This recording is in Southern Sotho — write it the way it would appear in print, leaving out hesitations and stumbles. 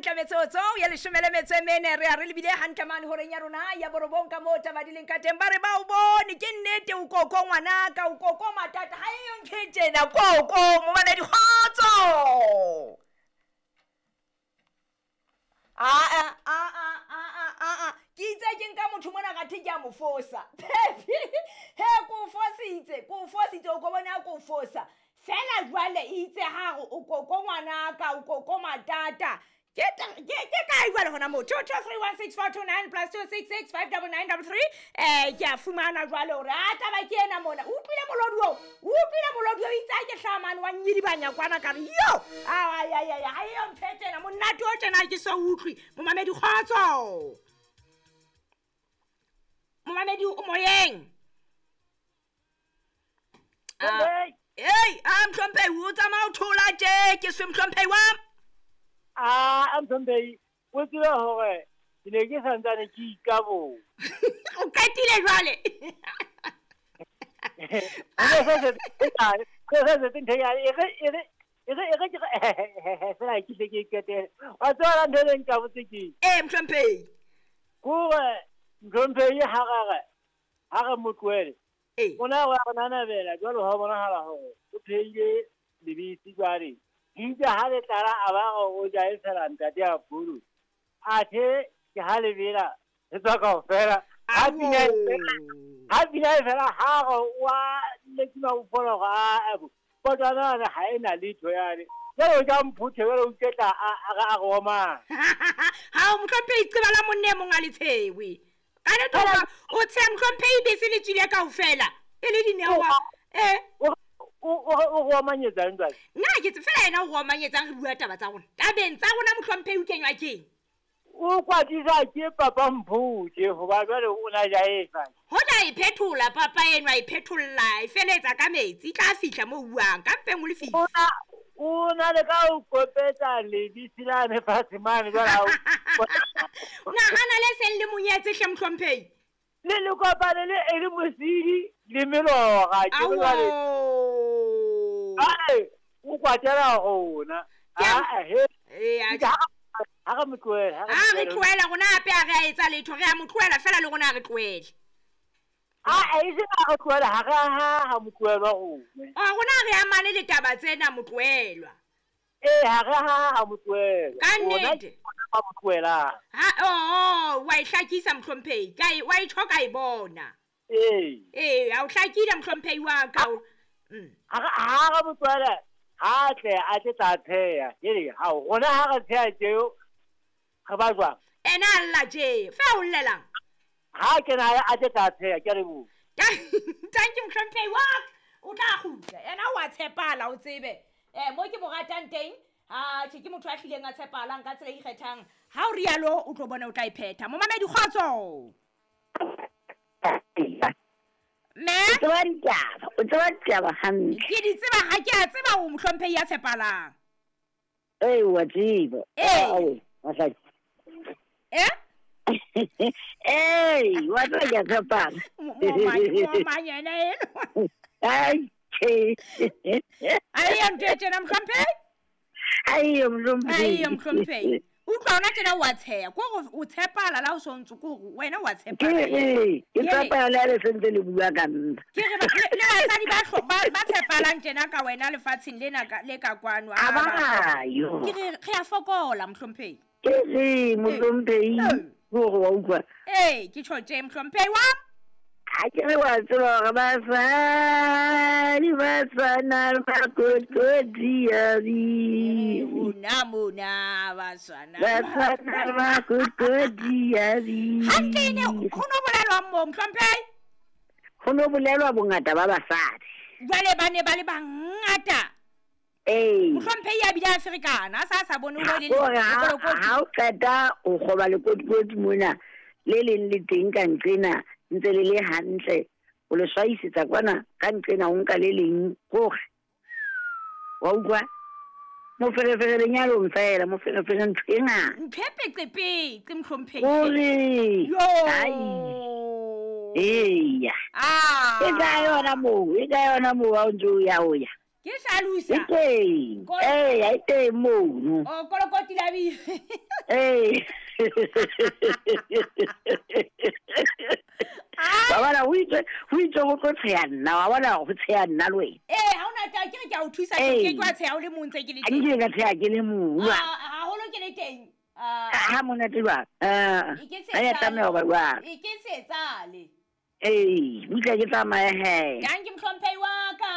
Hantle metsotso ya leshome le metso e mene, re a re lebile hantle mane horeng ya rona ya borobong ka moo taba di leng ka teng. Ba re ba o bone, ke nnete o koko ngwanaka, o koko matata, ha eyo ntho e tjena koko momamedi kgotso. Aa a a a a a a ke itse ke nka motho mona ka the ke a mo fosa. Phepi he ko fositse, ko fositse, o ko bone a ko fosa. Fela jwale itse ha re o koko ngwanaka, o koko matata. Ke kae jwale hona moo? 2 2 3 1 6 4 2 9 plus 2 6 6 5 9 9 3. Ke a fumana jwale hore a taba ke ena mona. O utlwile molodi oo? O utlwile molodi oo? Itse ha ke hlaha mane wa nyedibanya kwana ka re, yo! Ai, ai, ai, ha eyo ntho e tjena, monate o tjena ha ke so utlwe. Momamedi kgotso. Momamedi o moyeng. Ei, a mhlomphehi, o tsamaya o thola tje, ke se mhlomphehi wa. A mhlomphehi, o tsebe hore ke ne ke santsane ke ikabo. O qetile jwale. Fela ke tle ke qetele. Wa tseba ntho e leng ka botse ke? Eh, mhlomphehi. Kore mhlomphehi ha re ha re mo tlohele. Ona wa re nanabela jwalo ha bonahala hore o phehile lebese jwale. Itse ha le tlala a ba re o ja e fela ntate a bolo. Athe ke ha lebela re tswa kaofela. Ha pina e fela ha re wa lekima o fola hore a potana ha ena letho yane. Jwale o ja mphuthe jwale o iketla a re a re omang. Ha o mhlomphehi tseba la monne mong a letshewe. Ka nnete o tsheha mhlomphehi bese le tswile kaofela. E le dineo. O go omanyetsang jwale? Nna ke tse fela yena o go omanyetsang re bua taba tsa rona. Tabeng tsa rona mhlomphehi o kenywa keng? O kwatisa ke papa Mphuthe hoba jwale o na ja efa. Hoja e phethola papa enwa e phetholla e feletsa ka metsi tla fihla mo buang ka mpeng o le fihla. O na le ka o kopetsa lebese la ne fatshe mane jwale ha o. Nahana le seng le monyetse hle mhlomphehi. Le le kopane le e le mosidi le melora ke jwale. Ai o kwatela rona. A he. Ha re mo tlohele, ha re tlohela rona hape ha re a etsa letho, re a mo tlohela fela le rona ha re tlohele. A e se re tlohela ha re ha mo tlohelwa rona. A rona re amane le taba tsena mo tlohelwa. Eh ha re ha mo tlohela. Ka nnete. Ha mo tlohela. Ha oh wa e hlakisa mhlomphehi, ka e wa e tjho ka e bona. Eh. Eh ha o hlakile mhlomphehi wa ka. Ha re mo tlohela ha tle a tle tla tsheya. Ke ha rona ha re tsheya tseo re ba jwang? Ena a lla tje, fe o llelang? Ha ke na a tle tla tsheya, ke re bo. Thank you mhlomphehi wa ka. O tla kgutla. Ena wa tshepala o tsebe. Mo ke mo ratang teng, ha tjhe ke motho a hlileng a tshepalang ka tsela e ikgethang. Ha o rialo o tlo bona o tla e phetha. Momamedi kgotso. Me? O tseba ditaba, o tseba ditaba hantle. Ke di tseba ha ke a tseba o mhlomphehi ya tshepalang. Eh wa tseba. Eh. Masaki. Eh? Eh, wa tseba ke a tshepala. Mo yena eno. Ai, che. Ai yo ntho e tjena mhlomphehi? Ai yo mhlomphehi. Ai yo mhlomphehi. Utlwa ona tjena wa tsheya, ko gore o tshepala la o sontse ko gore wena wa tshepala. Ke tshepala le sentse le bua ka nna. Ke re le basadi ba tshepalang tjena ka wena lefatsheng lena le ka kwano. A ba yo. Ke re re a fokola mhlomphehi. Ke re mhlomphehi gore wa utlwa. Eh, ke tjho tje mhlomphehi wa. Ha ke re wa tseba hore basadi ba tshwana le makotodi a biri. Mona mona ba tshwana. Ba tshwana le makotodi a biri. Hantle ne ho no bolelwa mo mhlomphehi? Ho no bolelwa bongata ba basadi. Jwale ba ne ba le bangata. Eh. Mhlomphehi a bile a ferekana, a sa bone ho le ha o qeta o kgoba lekotikoti mona le leng le teng ka nqena ntse le le hantle o le swaisetsa kwana ka nqena o nka le leng gore wa utlwa moferefere lenyalong fela moferefere ntho e ngata ntho e peqepetse mhlomphehi ore yo eya e ka yona moo e ka yona moo ha o ntse o ya o ya ke hlalosa e teng e teng mono o kolokoti la biri. Ee. Wa bona ho itswe ho itswe ho tlo tsheha nna wa bona ho tsheha nna le wena. Ee, ha ona taba ke re ke a o thusa ke ke wa tsheha o le mong ntse ke le teng. Nke ka tsheha ke le mong. Haholo ke le teng. Ha monate jwang? Ha ya tlameha ho ba jwang? E ke se etsale. Ee, butle ke tsamaye he. Dankie mohlomphehi wa ka.